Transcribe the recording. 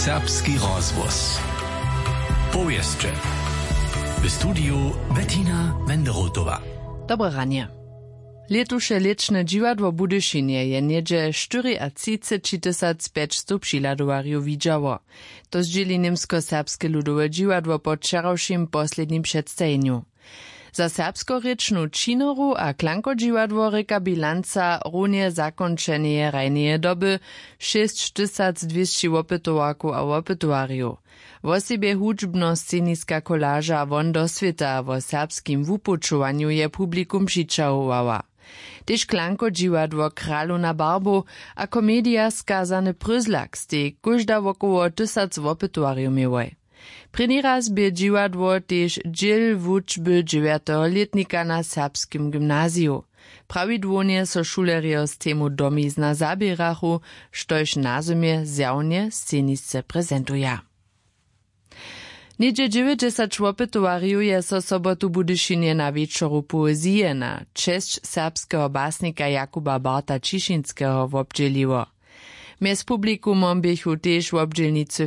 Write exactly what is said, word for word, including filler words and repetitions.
Serbski rozhłos. Powěsće. W studiju Bettina Wenderotowa. Dobre ranje. Lětuše lěčne dźiwadło w Budyšinje je něhdźe štyriatřiceći tysac pjećstow přihladowarjow widźało. To zdźěli němskoserbske ludowe dźiwadło po wčerawšim poslednim předstajenju. Za serbskorěčnu činoru a klankodźiwadło rěka bilanca runje zakónčeneje hrajneje doby šěsć tysac dwěsći wopytowarkow a wopytowarjow. Wosebje hudźbnosceniska kolaža won do swěta wo serbskim wupućowanju je publikum přićahowała. Tež klankodźiwadło Kralowna barbow a komedija Skazany pryzlak stej kóžda wokoło tysac wopytowarjow měłoj. Prěni raz bě dźiwadło tež dźěl wučby dźewjateho lětnika na serbskim gymnaziju. Prawidłownje so šulerjo z temu domizna zaběrachu, štož nazymje zjawnje scenisce prezentuja. Něhdźe dźewjećdźesat wopytowarjow je so sobotu w Budyšinje na wječoru poezije na česć serbskeho basnika Jakuba Barta Ćišinskeho wobdźěliło. Mjez publikumom běchu tež wobdźělnicy